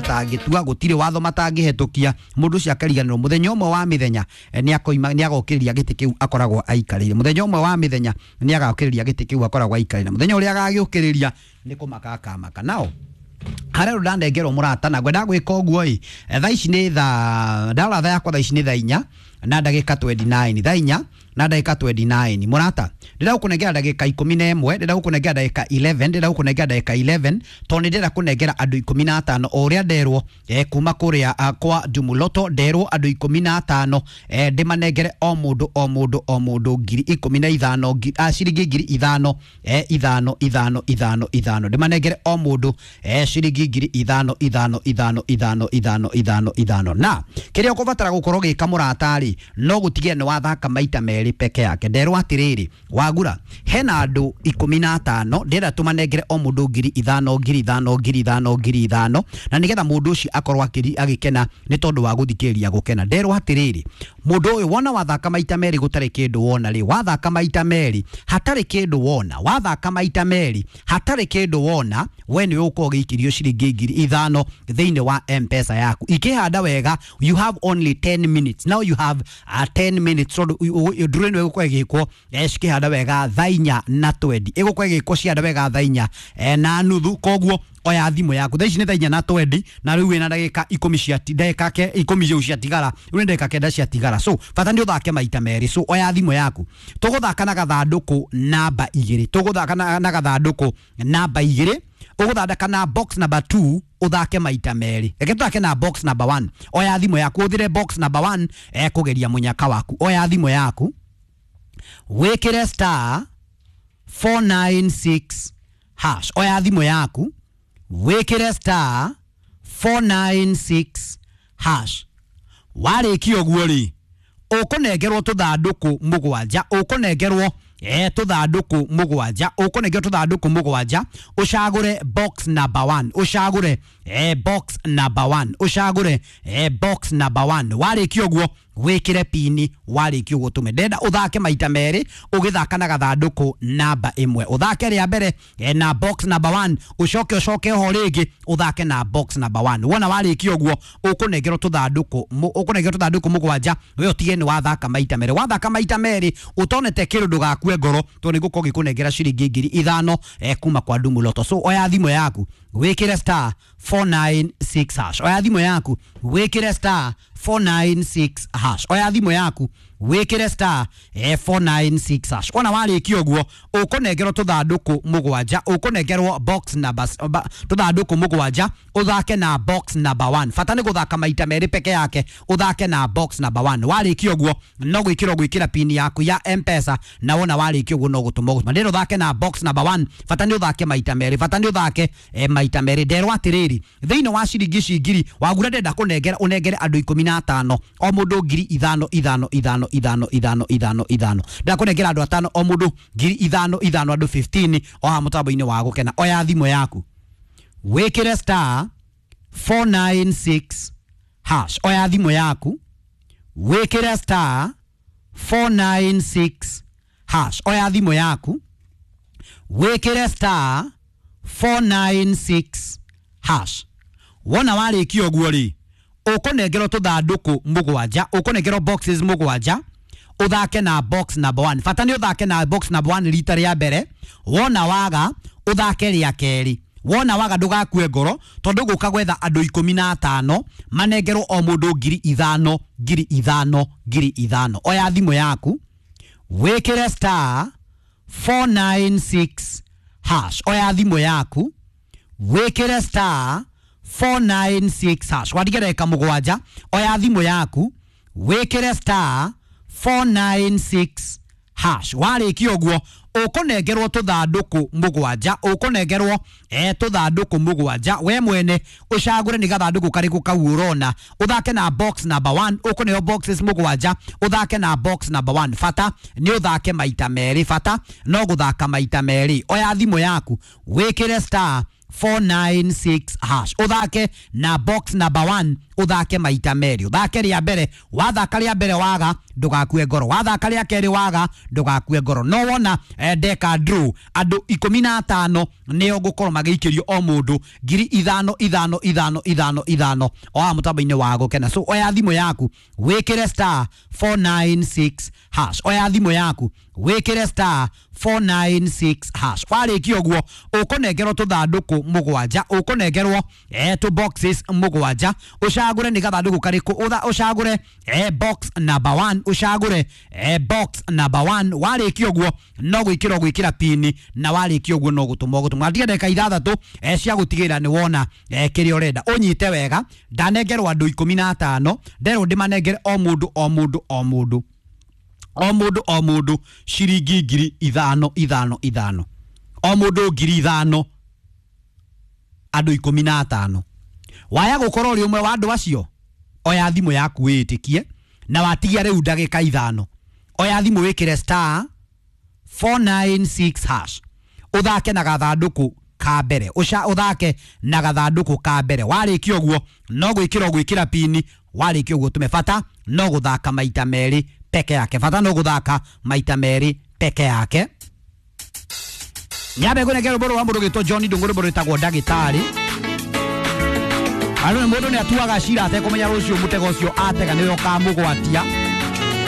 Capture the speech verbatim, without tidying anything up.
Matangĩtua gũtirĩ watho matangĩhetũkia mũndũ ũcio akariganĩrwo mũthenya ũmwe wa mĩthenya eh, nĩ akoima nĩ agokĩrĩria gĩtĩ kĩu akoragwo aikarĩire. Mũthenya ũmwe wa mĩthenya nĩ agokĩrĩria gĩtĩ kĩu akoragwo aikarĩire. Mũthenya ũrĩa agagĩũkĩrĩria nĩ kũmaka akamaka nao harĩa rĩu ndanengerwo mũrata na ngwenda gwĩka ũguo ĩ, eh, thaa ici nĩ thaa ndarora thaa yakwa, thaa ici nĩ thaa inya na ndagĩka mĩrongo ĩĩrĩ na kenda, thaa inya na ndagĩka mĩrongo ĩĩrĩ na kenda. Mũrata, ndĩrenda gũkũnengera ndagĩka ikũmi na ĩmwe, ndĩrenda gũkũnengera ndagĩka ikũmi na ĩmwe, ndĩrenda gũkũnengera ndagĩka ikũmi na ĩmwe tondũ nĩ ndĩrenda kũnengera andũ ikũmi na atano o ũrĩa nderwo eh, kuma kũrĩa ah, kwa Jumuloto. Nderwo andũ ikũmi na atano eh, ndĩmanengere o mũndũ o mũndũ o mũndũ ngiri ikũmi na ithano, ngi- ah, ciringi ngiri ithano, eh, ithano ithano ithano ithano, ndĩmanengere o mũndũ eh, ciringi ngiri ithano ithano ithano ithano ithano ithano ithano. Na kĩrĩa ũkũbatara gũkorwo gĩka, mũrata rĩ, no gũtigĩrĩra nĩ wathaka maita merĩ peke yake. Nderwo atĩrĩrĩ, wagura hena andũ ikũmi na atano ndĩrenda tũmanengere o mũndũ ngiri ithano, ngiri ithano, ngiri ithano, ngiri ithano, na nĩgetha mũndũ ũcio akorwo akĩri- agĩkena nĩ tondũ wa gũthikĩrĩria gũkena. Nderwo atĩrĩrĩ, mũndũ ũyũ wona wathaka maita merĩ gũtarĩ kĩndũ wona rĩ, wathaka maita merĩ hatarĩ kĩndũ wona, wathaka maita merĩ hatarĩ kĩndũ wona, we nĩ ũgũkorwo ũgĩikĩrio ciringi ngiri ithano thĩinĩ wa M-Pesa yaku. Ikĩhanda wega, you have only ten minutes now, you have uh, ten minutes, tondũ ndũrĩ ĩno ĩgũkorwo ĩgĩkwo eh, cikĩhanda wega thaa inya na twendi, ĩgũkorwo ĩgĩkwo cihanda wega thaa inya eh, na nuthu. Koguo oya thimũ yaku, thaa ici nĩ thaa inya na twendi na rĩu wĩna ndagĩka ikũmi cia ndagĩka ke ikũmi rĩu ciatigara, rĩu nĩ ndagĩka kenda ciatigara. So bata nĩ ũthake maita merĩ. So oya thimũ yaku, tũgũthaka na gathandũkũ namba igĩrĩ, tũgũthaka na, na gathandũkũ namba igĩrĩ, ũgũthondeka na box number two, ũthake maita merĩ. Reke tũthake na box number one. Oya thimũ yaku ũthire box number one, eh, kũgeria mũnyaka waku. Oya thimũ yaku wĩkĩre star four nine six hash. Oya thimũ yaku wĩkĩre star four nine six hash. Warĩkia ũguo rĩ, ũkũnengerwo tũthandũkũ mũgwanja, ũkũnengerwo eh tũthandũkũ mũgwanja, ũkũnengerwo tũthandũkũ mũgwanja, ũcagũre box number one, ũcagũre eh box number one, ũcagũre eh box number one. Warĩkia ũguo wĩkĩre pini. Warĩkia ũguo tũme. Ndenda ũthake maita merĩ ũgĩthaka na gathandũkũ namba ĩmwe. Ũthake rĩa mbere eh, na box number one, ũcoke ũcoke ho rĩngĩ ũthake na box number one. Wona warĩkia ũguo ũkũnengerwo tũthandũkũ mũ- ũkũnengerwo tũthandũkũ mũgwanja, we ũtige nĩ wathaka maita merĩ. Wathaka maita merĩ ũtonete kĩndũ, ndũgakue ngoro tondũ nĩ ngũkorwo ngĩkũnengera ciringi ngiri ithano eh, kuma kwa Dumu Lotto. So oya thimũ yaku wĩkĩre star four nine six hash. Oya thimũ yaku wĩkĩre star four nine six hash. Oya thimũ yaku wĩkĩre star eh, four nine six hash. Wona warĩkia ũguo ũkũnengerwo tũthandũkũ mũgwanja, ũkũnengerwo box numbers ba- tũthandũkũ mũgwanja, ũthake na box number one. Bata nĩ gũthaka maita merĩ peke yake, ũthake na box number one. Warĩkia ũguo no gwĩkĩra ũgwĩkĩra pini yaku ya M-Pesa, na wona warĩkia ũguo no gũtũma ũgũtũma. Ndĩrenda ũthake na box number one. Bata nĩ ũthake maita merĩ, bata nĩ ũthake eh, maita merĩ. Nderwo atĩrĩrĩ, thĩinĩ wa ciringi ici ngiri wagura ndenda kũnengera ũnengere andũ ikũmi na atano o mũndũ ngiri ithano ithano ithano ithano ithano ithano ithano. Ndakũnengera andũ atano o mũndũ ngiri ithano ithano, andũ fifteen o haha mũtambo-inĩ wa gũkena. Oya thimũ yaku wĩkĩre star four nine six hash. Oya thimũ yaku wĩkĩre star four nine six hash. Oya thimũ yaku wĩkĩre star four nine six hash. Wona warĩkia ũguo rĩ, ũkũnengerwo tũthandũkũ mũgwanja, ũkũnengerwo boxes mũgwanja, ũthake na box number one. Bata nĩ ũthake na box number one rita rĩa mbere. Wona waga ũthake rĩa kerĩ. Wona waga ndũgakue ngoro tondũ gũka gwetha andũ ikũmi na atano manengerwo o mũndũ ngiri ithano, ngiri ithano, ngiri ithano. Oya thimũ yaku wĩkĩre star four nine six hash. Oya thimũ yaku wĩkĩre star four nine six hash. Watiga ndagĩka mũgwanja. Oya thimũ yaku wĩkĩre star four nine six hash. Warĩkia ũguo ũkũnengerwo tũthandũkũ mũgwanja, ũkũnengerwo eh, tũthandũkũ mũgwanja, we mwene ũcagũre nĩ gathandũkũ karĩkũ kau ũrona, ũthake na box number one. Ũkũneo boxes mũgwanja, ũthake na box number one. Bata nĩ ũthake maita merĩ, bata no gũthaka maita merĩ. Oya thimũ yaku wĩkĩre star four nine six hash uthake na box number one uthake maita merĩ. Uthake rĩa mbere, wathaka rĩa mbere waga ndũgakue ngoro, wathaka rĩa kerĩ waga ndũgakue ngoro. No wona eh, ndeka draw andũ ikũmi na atano nĩo ngũkorwo magĩikĩrio o mũndũ ngiri ithano ithano ithano ithano ithano o haha mũtambo-inĩ wa Gũkena. So oya thimũ yaku wĩkĩre star four nine six hash, oya thimũ yaku wĩkĩre star four nine six hash. Warĩkia ũguo ũkũnengerwo tũthandũkũ mũgwanja, ũkũnengerwo eh, tũ boxes mũgwanja, ũcagũre nĩ gathandũkũ karĩkũ, ũtha- ũcagũre eh, box number one, ũcagũre eh, box number one. Warĩkia ũguo no gwĩkĩra ũgwĩkĩra pini, na warĩkia ũguo no gũtũma ũgũtũma. Atiga ndagĩka ithathatũ eh, cia gũtigĩrĩra nĩ wona eh, kĩrĩa ũrenda. Ũnyite wega, ndanengerwo andũ ikũmi na atano, nderwo ndĩmanengere o mũndũ o mũndũ o mũndũ o mũndũ o mũndũ ciringi ngiri ithano ithano ithano, o mũndũ ngiri ithano, andũ ikũmi na atano. Waya gũkorwo ũrĩ ũmwe wa andũ acio, oya thimũ yaku wĩĩtĩkie na watigia rĩu ndagĩka ithano, oya thimũ wĩkĩre star four nine six hash ũthake na gathandũkũ ka mbere, ũca ũthake na gathandũkũ ka mbere. Warĩkia ũguo no gwĩkĩra ũgwĩkĩra pini, warĩkia ũguo tũme. Bata no gũthaka maita merĩ peke yake, bata no gũthaka maita merĩ peke yake. Nyambe ngũnengere rwĩmbo rwa mũndũ ũgĩtwo John Ndung'u, rwĩmbo rwĩtagwo Ndagĩtarĩ. Arũ mũndũ nĩ atuaga cira atekũmenya rũciũ mũtego ũcio atega nĩwe ũkamũgwatia.